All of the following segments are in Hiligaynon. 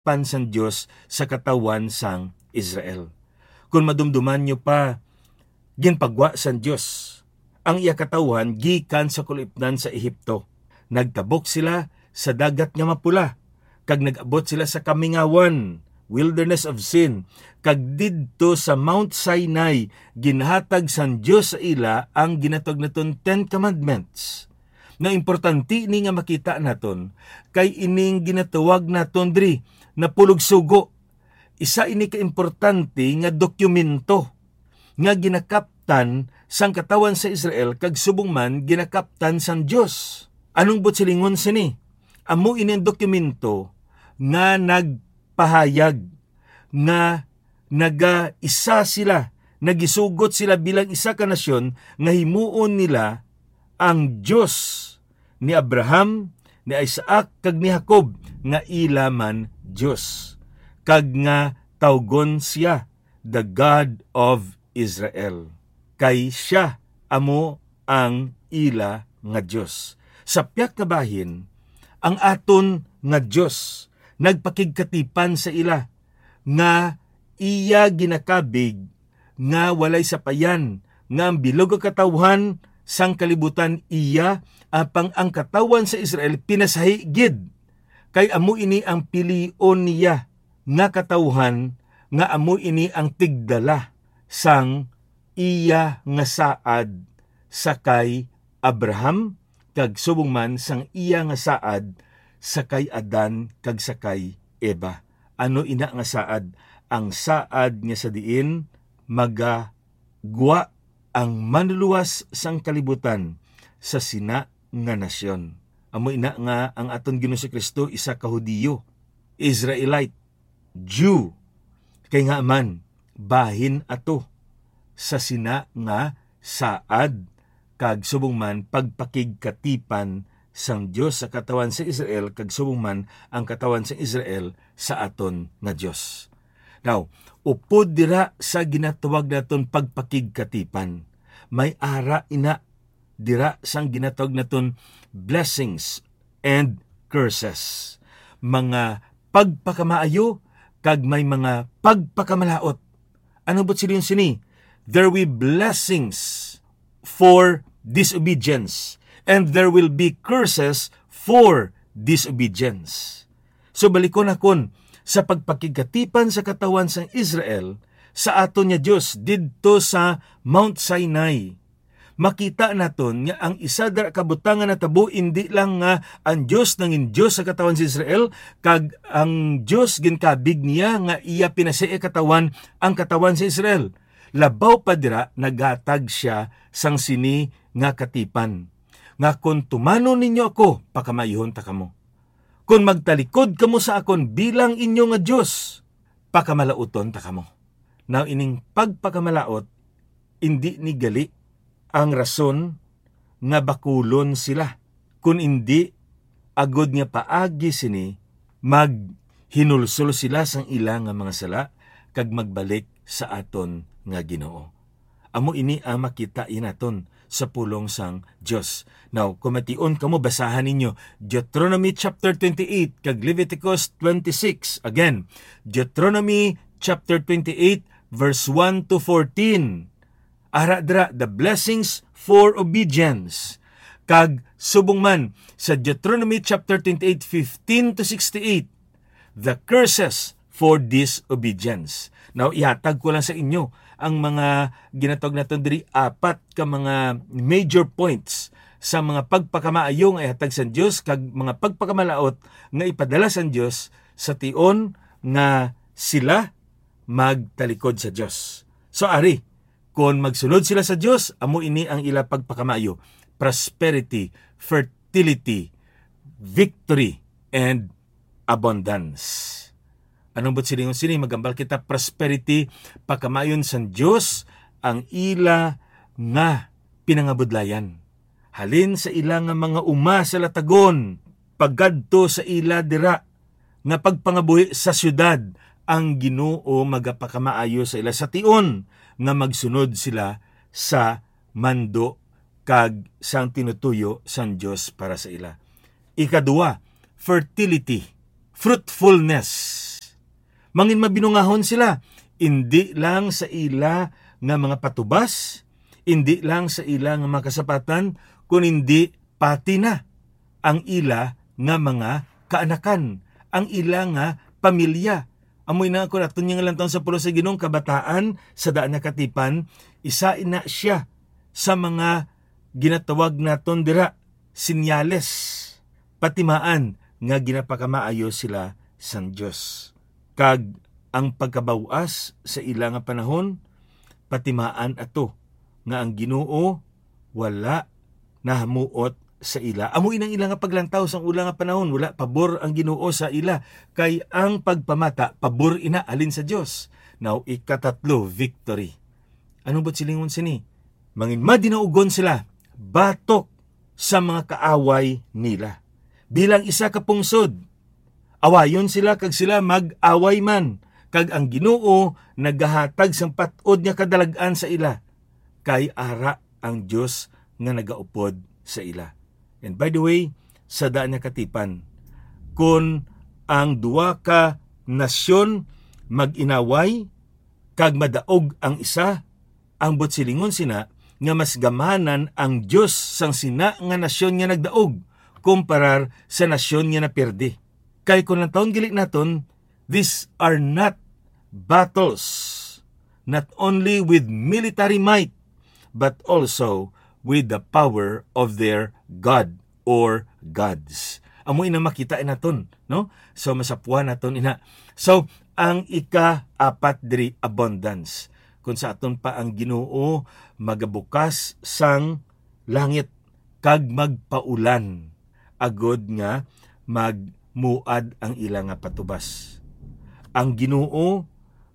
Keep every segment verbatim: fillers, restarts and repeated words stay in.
pan sang Dios sa katawhan sang Israel. Kon madumduman nyo pa, ginpagwa sang Dios ang iya katawhan gikan sa kulipnan sa Ehipto. Nagtabok sila sa Dagat nga Mapula, kag nag-abot sila sa Kamingawan, Wilderness of Sin, kag didto sa Mount Sinai, ginhatag sang Dios sa ila ang ginatawag naton Ten Commandments. Na importante ini nga makita naton, kay ining ginatawag naton diri na pulog sugo. Isa ini ka importante nga dokumento nga ginakaptan sang katawhan sa Israel, kag subong man ginakaptan sang Dios. Anong buot silingon sini? Amo ini ang dokumento nga nagpahayag nga nagaisa sila, nagisugot sila bilang isa ka nasyon, nga himuon nila ang Dios ni Abraham, ni Isaac, kag ni Jacob, nga ila man Dios, kag nga tawgon siya the God of Israel, kay siya amo ang ila nga Dios. Sa pihak nga bahin, ang aton nga Dios nagpakigkatipan sa ila, nga iya ginakabig nga walay sapayan, nga ang bilog nga katawhan sang kalibutan iya, apang ang katawhan sa Israel pinasahi gid, kay amo ini ang pilion niya nga katawhan, nga amo ini ang tigdala sang iya nga saad sa kay Abraham, kag subong man sang iya nga saad sa kay Adan kag sa kay Eva. Ano ina nga saad? Ang saad nga sa diin magagwa ang Manluwas sang kalibutan sa sina nga nasyon. Amo ina nga ang aton Ginoong Kristo isa ka Hudiyo, Israelite, Jew, kay nga man bahin ato sa sina nga saad, kag subong man pagpakigkatipan sang Dios sa katawhan sa Israel, kag subong man ang katawhan sa Israel sa aton nga Dios. Now, upod dira sa ginatawag naton pagpakigkatipan, may ara ina dira sang ginatawag naton blessings and curses. Mga pagpakamaayo kag may mga pagpakamalaut. Ano buot silingon sini? There will be blessings for disobedience, and there will be curses for disobedience. So, balikon nakon, sa pagpakigkatipan sa katawhan sang Israel sa aton nga Dios didto sa Mount Sinai, makita naton nga ang isa dira ka butang nga natabo, indi lang nga ang Dios nangin Dios sa katawhan sa Israel, kag ang Dios ginkabig niya nga iya pinasai katawhan ang katawhan sa Israel. Labaw pa dira, naghatag sia sang sini nga katipan, nga kon tumanon ninyo ako, pakamaayuhon ta kamo. Kon magtalikod kamo sa akon bilang inyo nga Dios, pakamalaoton ta kamo. Now, ining pagpakamalaot, indi ni gali ang rason nga bakulon sila, kun indi agod nga paagi sini maghinulsol sila sang ila nga mga sala kag magbalik sa aton nga Ginoo. Amo ini ang makita naton sa pulong sang Dios. Now, kung mation kamo, basahan ninyo Deuteronomy chapter twenty-eight kag Leviticus twenty-six. Again, Deuteronomy chapter twenty-eight, verse one to fourteen. Ara dira, the blessings for obedience. Kag subong man sa Deuteronomy chapter twenty-eight, fifteen to sixty-eight, the curses for disobedience. Now, ihatag ko lang sa inyo ang mga ginatawag naton diri apat ka mga major points sa mga pagpakamaayo nga ihatag sa Dios kag mga pagpakamalaot nga ipadala sa Dios sa tion nga sila magtalikod sa Dios. So, ari, kon magsunod sila sa Dios, amo ini ang ila pagpakamaayo: prosperity, fertility, victory, and abundance. Anong buot silingon sini? Magambal kita, prosperity, pakamayon sang Dios ang ila nga pinangabudlayan. Halin sa ila nga mga uma sa latagon, pagadto sa ila dira nga pagpangabuhi sa siyudad, ang Ginoo magapakamaayo sa ila sa tion nga magsunod sila sa mando kag sang tinutuyo sang Dios para sa ila. Ikaduha, fertility, fruitfulness. Mangin mabinungahon sila, indi lang sa ila nga mga patubas, indi lang sa ila nga mga kasapatan, kun indi pati na ang ila nga mga kaanakan, ang ila nga pamilya. Amo ina, kon aton nga lantawon sa pulong sa Ginoong kabataan sa daan nga katipan, isa ina siya sa mga ginatawag naton dira senyales, patimaan nga ginapakamaayo sila sang Dios. Kag ang pagkabaw-as sa ila nga panahon, patimaan ato nga ang Ginoo wala nahamuot sa ila. Amo inang ila nga paglantaw sang ula nga panahon, wala pabor ang Ginoo sa ila, kay ang pagpamata pabor ina halin sa Dios. Now, ikatatlo, victory. Anong buot silingon sini? Mangin madinaugon sila batok sa mga kaaway nila. Bilang isa ka pungsod, awayon sila kag sila mag-away man, kag ang Ginoo nagahatag sang pat-od nga kadalag-an sa ila, kay ara ang Dios nga nagaupod sa ila. And by the way, sa daan nga katipan, kon ang duha ka nasyon mag-inaway kag madaog ang isa, ang buot silingon sina nga mas gamanan ang Dios sang sina nga nasyon nga nagdaog kumparar sa nasyon nga napirdi. Kay kon lantawon gali naton, these are not battles, not only with military might, but also with the power of their god or gods. Amo ina makita naton, no? So, masapuan naton ina. So, ang ika-apat diri, abundance. Kung sa aton pa ang Ginoo magabukas sang langit kag magpaulan, agod nga magmuad ang ila nga patubas. Ang Ginoo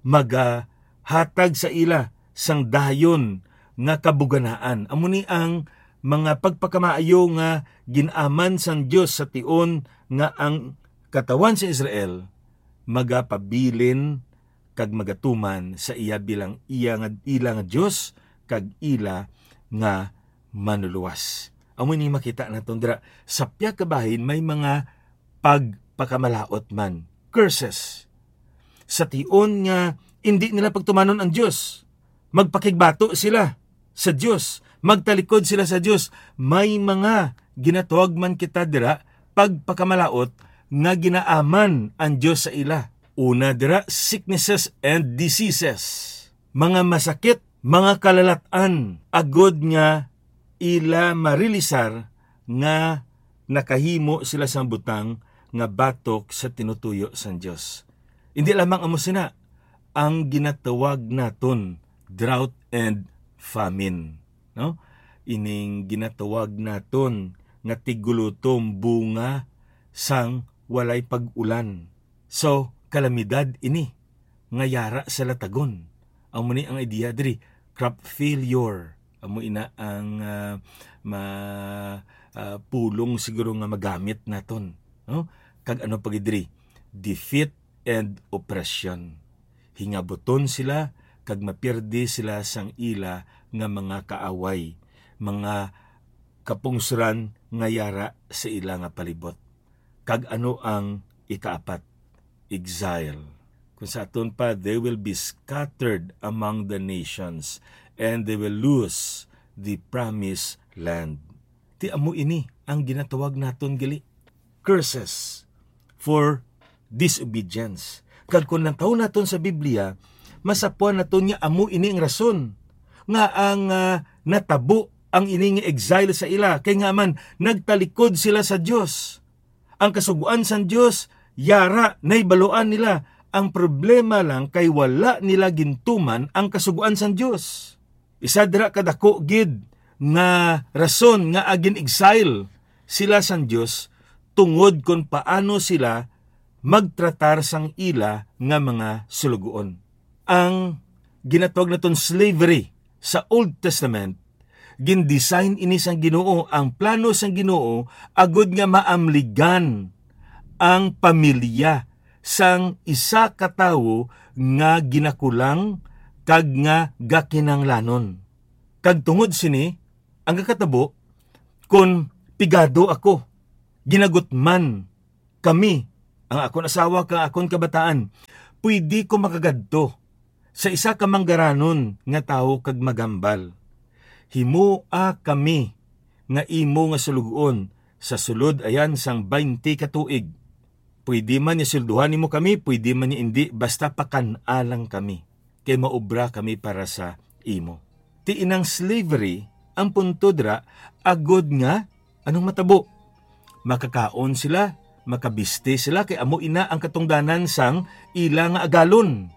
magahatag sa ila sang dayon nga kabuganaan. Amo ni ang mga pagpakamaayo nga gin-aman sang Dios sa tion nga ang katawan sa Israel magapabilin kag magatuman sa iya bilang iya nga, ila nga Dios kag ila nga manuluwas. Amo ni makita naton dira sa pihak ka bahin may mga pagpakamalaut man, curses. Sa tion nga indi nila pagtumanon ang Dios, magpakigbato sila sa Dios, magtalikod sila sa Dios. May mga ginatawag man kita dira pagpakamalaut nga ginaaman ang Dios sa ila. Una dira, sicknesses and diseases, mga masakit, mga kalalat-an, agod nga ila marilisar nga nakahimo sila sang butang nga batok sa tinutuyo sang Dios. Indi lamang amo sina, ang ginatawag naton drought and famine, no? Ining ginatawag naton nga tiggulotom bunga sang walay pag-ulan. So, kalamidad ini nga yara sa latagon. Amo ni ang idea diri, crop failure. Amo ina ang, ah, ma-, ah, pulong siguro nga magamit naton, no? Kag ano pa gid diri? Defeat and oppression. Hingabuton sila kag mapirdi sila sang ila nga mga kaaway, mga kapungsoran nga yara sa ila nga palibot. Kag ano ang ikaapat? Exile. Kung sa aton pa, "They will be scattered among the nations, and they will lose the promised land." Ti amo ini ang ginatawag naton gali, curses for disobedience. Kag kung lantawon naton sa Biblia, masapuan naton nga amo ini ang rason nga ang, ah, natabo ang ini nga exile sa ila, kay nga man nagtalikod sila sa Dios. Ang kasugoan sang Dios yara nahibaluan nila. Ang problema lang kay wala nila gintuman ang kasugoan sang Dios. Isa dira ka dako gid nga rason nga gin-exile sila sang Dios tungod kon paano sila magtratar sang ila nga mga sulugoon. Ang ginatawag naton slavery sa Old Testament, gin-design ini sang Ginoo, ang plano sang Ginoo agud nga maamligan ang pamilya sang isa ka tawo nga ginakulang kag nga gakinahanglanon. Kag tungod sini, ang kakatabo, kon pigado ako, ginagutman kami, ang akon asawa kag akon kabataan, Pwede ko makagadto sa isa ka manggaranon nga tawo kag maghambal, "Himoa kami nga imo nga suloguon sa sulod ayan sang baynte ka tuig. Pwede man nga sweldohan nimo kami, pwede man nga indi, basta pakan-a lang kami, kay maobra kami para sa imo." Ti inang slavery, ang punto dira, agod nga anong matabo? Makakaon sila, makabisti sila, kay amo ina ang katungdanan sang ila nga agalon.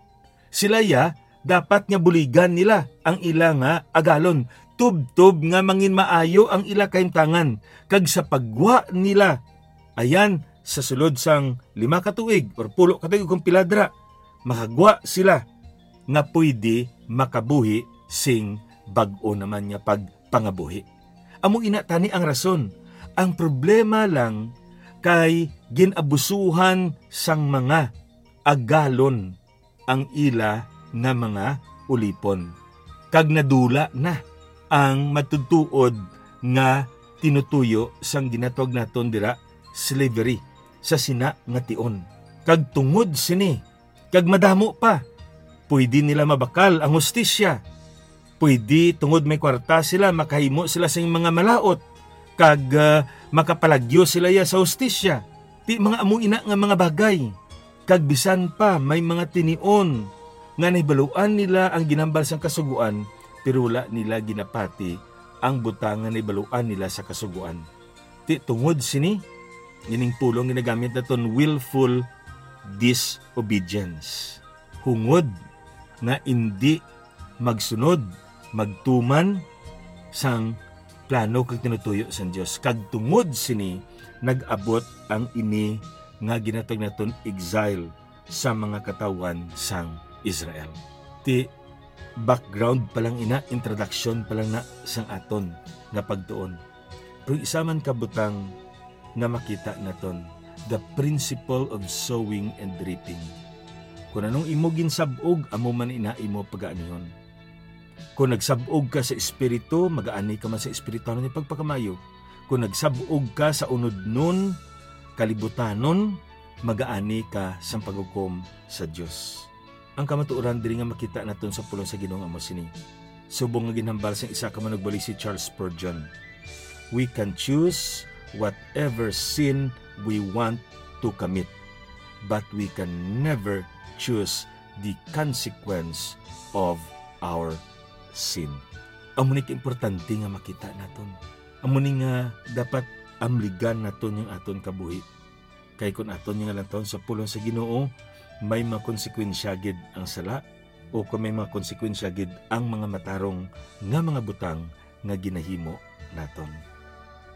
Sila ya, dapat nga buligan nila ang ila nga agalon, tubtob nga manginmaayo ang ila kahimtangan, kag sa paggwa nila, ayan, sa sulod sang lima ka tuig or pulo ka tuig kung pila dira, makagwa sila nga pwede makabuhi sing bag-o naman nga pagpangabuhi. Amo ina tani ang rason. Ang problema lang kay gin-abusuhan sang mga agalon ang ila nga mga ulipon, kag nadula na ang matutuod nga tinutuyo sang ginatawag naton dira slavery sa sina nga tion. Kag tungod sini, kag madamo pa, pwede nila mabakal ang hustisya. Pwede tungod may kwarta sila, makahimo sila sing mga malaut, kag, ah, makapalagyo sila ya sa hustisya. Ti mga amo ina nga mga bagay. Kag bisan pa may mga tinion nga nahibaluan nila ang ginhambal sang Kasugoan, pero wala nila ginapati ang butang nga nahibaluan nila sa Kasugoan. Ti tungod sini, ining pulong ginagamit naton willful disobedience. Hungod nga indi magsunod, magtuman sang plano kag tinutuyo sang Dios. Kag tungod sini, nag-abot ang ini nga ginatawag naton exile sa mga katawhan sang Israel. Ti background pa lang ina, introduction pa lang na sang aton nga pagtuon. Pero isa man ka butang nga makita naton, the principle of sowing and reaping. Kung anong imo ginsab-og, amo man ina imo pagaanihon. Kung nagsab-og ka sa espiritu, magaani ka man sa espirituhanon nga pagpakamayo. Kung nagsab-og ka sa unodnon, kalibutanon, magaani ka sang paghukom sa Dios. Ang kamatuoran diri nga makita naton sa pulong sa Ginoo nga amo sini. Subong nga ginhambal sang isa ka manugbalisi, Charles Spurgeon, "We can choose whatever sin we want to commit, but we can never choose the consequence of our sin." Amo ni kaimportante nga makita naton. Amo ni nga dapat amligan naton yung aton kabuhi. Kay kun aton nga lantawon sa pulong sa Ginoo, may mga konsekwensya gid ang sala, o kung may mga konsekwensya gid ang mga matarong nga mga butang nga ginahimo naton.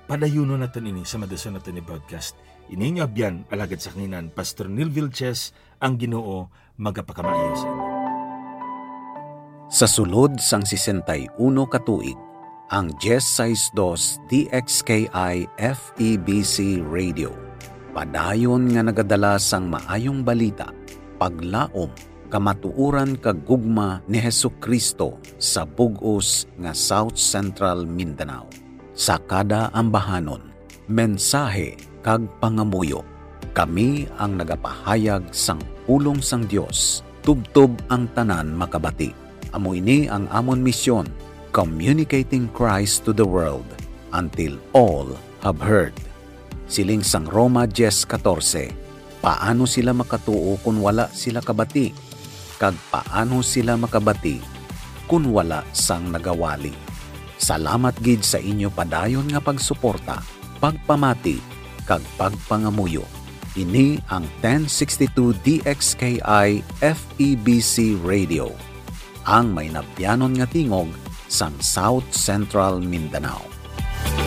Padayunon naton ini sa madason naton nga broadcast. Ini inyo abyan, alagad sa kanginan, Pastor Neil Vilches, ang Ginoo magapakamaayo sa inyo. Sa sulod sang sesenta y uno ka tuig, ang diez sais dos D X K I F E B C Radio padayon nga nagadala sang maayong balita, paglaom, kamatuoran kag gugma ni Jesu-Cristo sa bug-os nga South Central Mindanao. Sa kada ambahanon, mensahe, kag pangamuyo, kami ang nagapahayag sang pulong sang Dios, tubtob ang tanan makabati. Amo ini ang amon misyon, communicating Christ to the world, until all have heard. Siling sang Roma diez katorse, paano sila makatuo kon wala sila kabati? Kag paano sila makabati kon wala sang nagawali? Salamat gid sa inyo padayon nga pagsuporta, pagpamati, kag pagpangamuyo. Ini ang ten sixty-two D X K I F E B C Radio, ang mainabyanon nga tingog sang South Central Mindanao.